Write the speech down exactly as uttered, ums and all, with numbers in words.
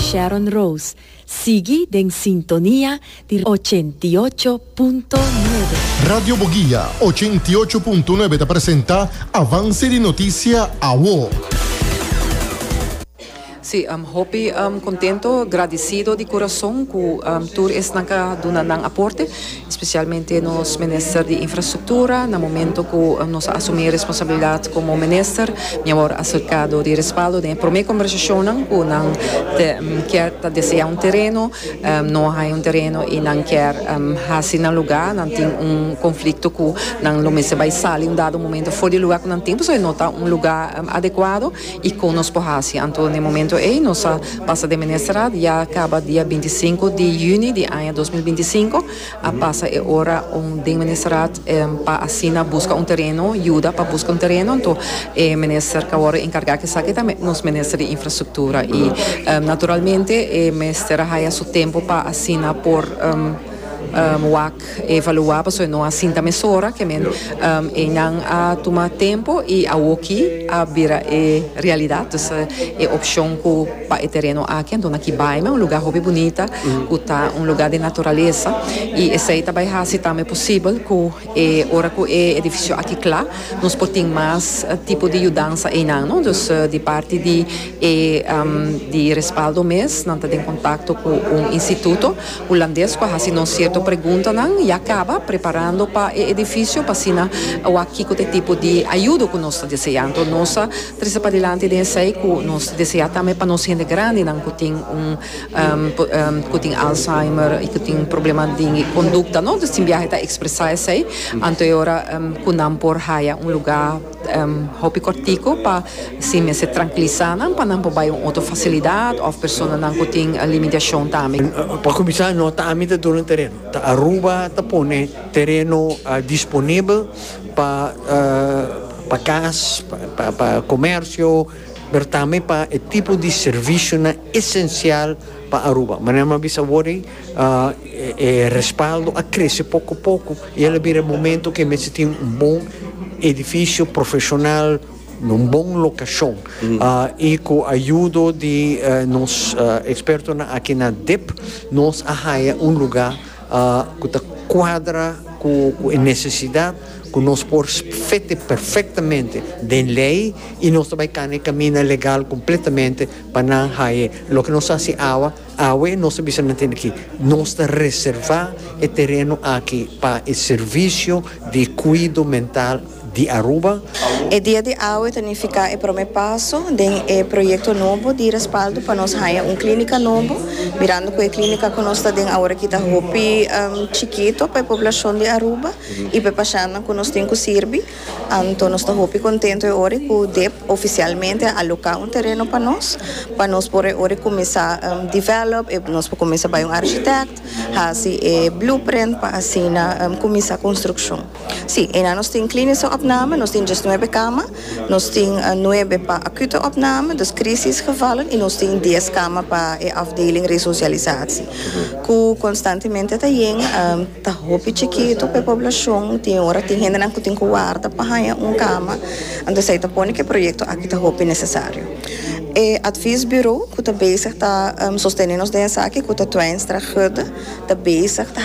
Sharon Rose. Sigui den sintonia di ochenta i ocho punto nuebe. Radio Boguia ochenta i ocho punto nuebe ta presenta Avance di Noticia Awo. Si, um, hopi um, contento, agradecido di curason cu um, tur esnan cu a duna nan aporte, especialmente nos minister di Infrastructura. Na momento cu um, nos a asumi responsabilidad como minister, mi a wordo acerca di Respaldo den prome conversacion cu nan te, um, kier ta desea un tereno, um, no hay un tereno y nan kier um, hasi na lugar, nan tin un conflicto cu nan lo mester bay sali un dado momento for di lugar cu nan tin, so no ta un lugar um, adecuado y cu nos por hasi. Anto, na momento ey, nos a pasa den ministerraad, ya caba dia binticinco di juni di aña dos mil binticinco, a pasa e ora un den ministerraad um, pa asina busca un tereno, yuda pa busca un tereno. Anto e minister cu awor encarga cu esaki tambe nos minister di Infrastructura y um, naturalmente e minister haya su tempo pa asina por um, um, wak evalua, paso no a sinta mesora, kiermen um, e nan a tuma tempo y awoki a bira e realidad. Dus e opcion cu pa e tereno aki, anto na Kibaima, un lugar hopi bunita, cu ta un lugar di naturalesa y esey tambe ta haci tambe posibel cu e ora cu e edificio aki cla, nos por tin mas eh, tipo di yudansa ey, no? Dus uh, di parti di e um, di Respaldo mes, nan ta den contacto cu un instituto hulandes cu a haci nos cierto preguntanan y a caba preparando pa e edificio pa asina aki cu tipo di ayudo cu nos ta deseando. Nos a trece padilanti den esey cu nos ta desea tambe pa nos hende grandinan cu tin un um, um, cu tin Alzheimer y cu tin problema di conducta, no? Dus tin biaha ta expresa esey. Anto ora um, cu nan por haya un lugar um, hopi cortico pa si se tranquilisa nan pa nan por bay un otro facilidad of personanan cu tin limitacion tambe. Pa cuminsa, no ta ami ta duna tereno. Ta Aruba ta pone tereno uh, disponibel pa uh, pa cas, pa, pa comercio, pero tambe pa e tipo di servicio na esencial pa Aruba. Mas mi a bisa awor, uh, e, e Respaldo a crece poco poco y el a bira momento cu mester tin un bon edificio profesional, un bon locacion. Mm. Uh, y cu ayudo di uh, nos uh, expertonan aki na D I P, nos a haya un lugar uh, cu ta cuadra cu e necesidad cu nos por fit perfectamente den ley y nos tambe ta camina legal completamente pa nan haya loke nos a haci awe. Awe nos bisa aki nos ta reserva e tereno aki pa e servicio di cuido mental di Aruba. E dia di awe ta nifica e prome paso di e proyecto nobo di Respaldo pa nos haya un clinica nobo, mirando cu e clinica cu nos ta den awor aki ta hopi um, chikito pa e poblacion di Aruba y pa pashentnan cu nos tin cu sirbi. Anto nos ta hopi contento awor cu D I P oficialmente a aloca un tereno pa nos, pa nos por awor cuminsa um, develop, y nos por cuminsa bay un architect, haci e blueprint pa asina um, cuminsa construccion. Si, y nos tin klinische opname, nos tin diesnuebe kamer, nos tin uh, nuebe pa acute opname, dus crisisgevallen, y nos tin dies kamer pa e afdeling resocialisatie. Cu constantemente ta yen, um, ta hopi chikito pa poblacion, tin ora tin hendenan cu tin cu warda pa haya un cama. Anto esey ta pone cu e proyecto aki ta hopi necesario. E adviesbureau, cu ta bezig ta um, sostene nos den esaki, cu ta Twijnstra Gudde, ta bezig ta